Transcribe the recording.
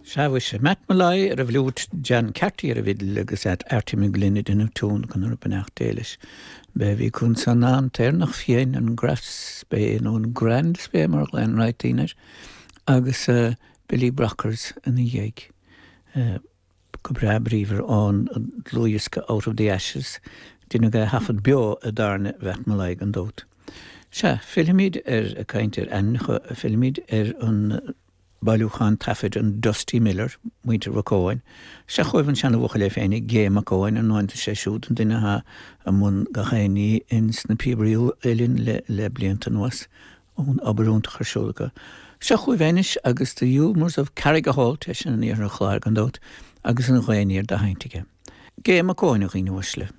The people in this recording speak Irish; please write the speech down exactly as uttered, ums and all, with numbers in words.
Sea mhuise, Matt Molloy ar an bhfliúit, John Carty ar an bhfidil agus Artie McGlynn ag déanamh tiún go raibh beannacht Dé leis. B'é a bhí acu ansan ná an tÉireannach Fiáin, an Grand Spey nó an Grand Spey mar a ghlaonn roinnt daoine air, agus Billy Brockers ina dhiaidh. Go breá bríomhar ón dlúthdhiosca Out of the Ashes, deineadh é a thaifead beo i dtábhairne Mhatt Molloy gan dabht. Sea, fillfimid ar ag caint ar ainmneacha, fillfimid ar an bailiúchán taifid an Dusty Miller, muintir Mhac Eoin. Seo chugaibh an seanabhuachaill é féin, Gay Mac Eoin, ar ndóigh sé siúd an duine atá i mbun gach aon ní ins na Píobairí Uilleann le, le blianta anuas, ón obair iontach ar siúl acu. Seo chugaibh anois agus The Humours of Carrigaholt, é sin in iarthar an Chláir gan dabht, agus an ghaoth aniar dá sheinnt aige. Gay Mac Eoin a dhaoine uaisle.